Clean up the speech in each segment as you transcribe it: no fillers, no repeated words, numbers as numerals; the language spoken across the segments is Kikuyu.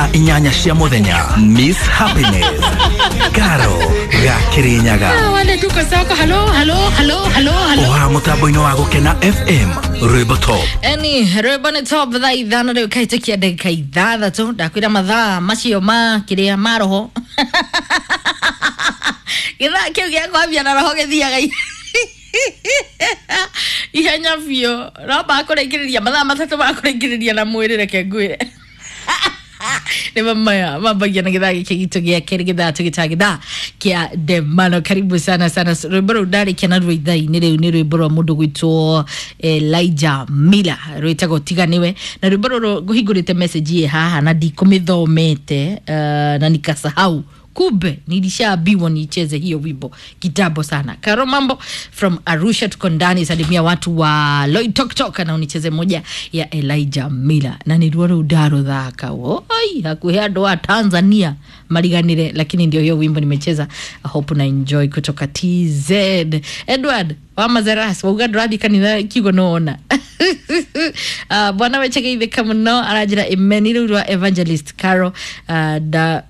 Thaa 8 cia muthenya, Miss Happiness Karo ga Kirinyaga. Wale tuko soko. Halo, halo, halo, halo, halo. Oha mutambo-inĩ wa Gũkena FM, rwĩmbo top. Eni rwĩmbo nĩ top. Thaa 5 rĩu kahĩtũkia ndagĩka 6. Ndakwĩra mathaa macio ma kĩrĩa ma roho, gĩthaa kĩu gĩa kwambia na roho gĩthiaga ihenya biũ, no makũrĩkĩrĩria mathaa 3 makũrĩkĩrĩria na mwĩrĩ. Reke ngwĩre nĩ maya mambagia na gĩthaa gĩkĩ gitũ gĩa kerĩ, gĩthaa tũgĩtaa gĩthaa kĩa ndemano. Karibu sana sana. Rwĩmbo rũu ndarĩkia naruo ithaa-inĩ rĩu nĩ rwĩmbo rwa mũndũ gwĩtwo Elijah Miller, rwĩtagwo Tiga Nĩwe. Na rwĩmbo rũrũ ngũhingũrĩte message ĩ haha na ndikũmĩthomete, na nikasahau kumbe nilishaambiwa nicheze hiyo wimbo kitambo sana. Karo Mambo from Arusha, tuko ndani. Salimia watu wa Loitoktok na unicheze moja ya Elijah Miller. Na nĩruo rũu ndarũthaka woi hakuhĩ andũ a Tanzania mariganire, lakini ndio hiyo wimbo nimecheza. I hope na enjoy kutoka TZ. Edward wa Mazeras wauga ndũrathiĩ kanitha kiugo nĩwona. Bwana wechegeithĩka mũno, aranjĩra imeni rĩu rwa Evangelist Caro, da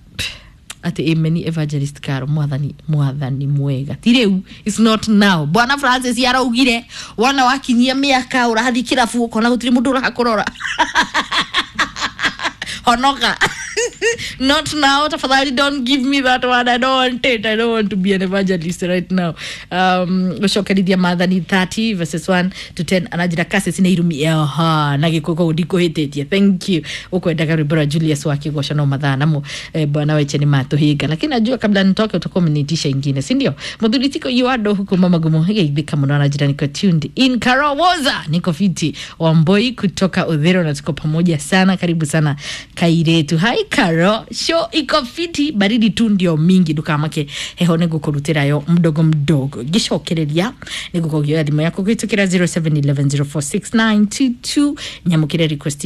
ati imeni Evangelist Caro. Mwathani, mwathani mwega, ti rĩu, it's not now. Bwana Francis araugire wona wakinyia mĩaka ũrathiĩ kĩrabu ũkona gũtirĩ mũndũ ũrakũrora, honoka. Not now, tafadhali, don't give me that one. I don't want it. I don't want to be an evangelist right now. Gũcokerithia Maathani 30 verses 1 to 10, anajira kase cina irumi aha na gĩkũ koguo ndikũhĩtĩtie. Thank you. Ũkwendaga rwĩmbo rwa Julius wa Kĩgoco no mathaa namo, bwana weche nĩ matũhinga, lakini najua kabla nitoke utakuwa umeniitisha ingine, si ndio? Mũthuri tiko yuado huku mama gumo geithĩka mũno, anajira niko tuned in. Karowoza niko fiti Wamboi kutoka Udhero na tuko pamoja sana. Karibu sana kairetu. Hai Karo, show iko fiti, baridi tu ndio mingi, ndukamake heho nĩngũkũrutĩra yo mdogo mdogo. Ngĩcokereria nĩngũkũgioya thimũ yaku kũhĩtũkĩra 0711046922 nyamũkĩre request.